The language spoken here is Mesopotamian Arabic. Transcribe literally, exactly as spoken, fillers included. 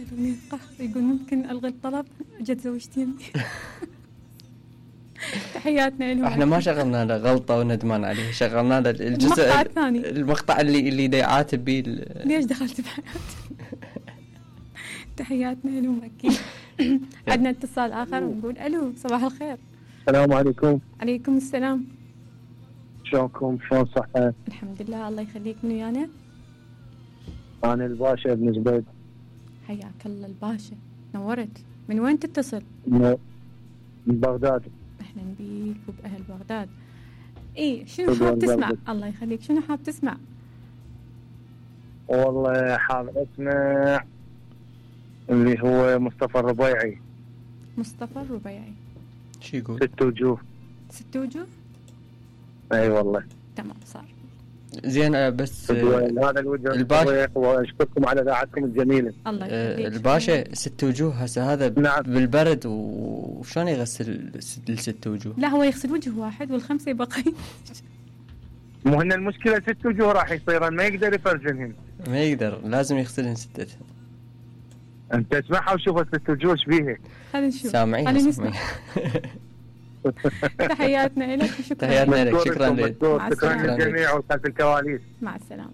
يلومني قهر، يقول ممكن الغي الطلب جت زوجتي يمي. تحياتنا لهم. احنا ما شغلنا له غلطه وندمان عليه، شغلنا له الجزء المقطع الثاني، المقطع اللي اللي دا يعاتب بيه. ليش دخلت بحياتي؟ تحياتنا لهم اكيد. عندنا اتصال اخر ونقول الو، صباح الخير. السلام عليكم. عليكم السلام. شلونكم؟ شلون صحتك؟ الحمد لله الله يخليك. من ويانا؟ انا الباشا ابن زبيد. حياك الله الباشا، نورت. من وين تتصل؟ من بغداد. اهلا بيك وباهل بغداد. ايه شنو حاب تسمع؟ الله يخليك، شنو حاب تسمع؟ والله حاب اسمع اللي هو مصطفى الربيعي. مصطفى الربيعي شو يقول؟ ست وجوه. ست وجوه؟ اي والله تمام صار. زين بس هذا الوجه الباشا، واشكركم على اذاعتكم الجميله. الله يخليك. الباشا ست وجوه هسه هذا نعم. بالبرد وشلون يغسل الست وجوه؟ لا هو يغسل وجه واحد والخمسه يبقى. مو هن المشكله ست وجوه راح يصيرن، ما يقدر يفرجنهن. ما يقدر، لازم يغسلهن ستة. انت اسمعها وشوف الست وجوه ايش بيها. خلينا نشوف. سامعين نسمع. تحياتنا لك وشكرا. تحياتنا لك، شكرا لك. شكرا للجميع وخلف الكواليس. مع السلامه.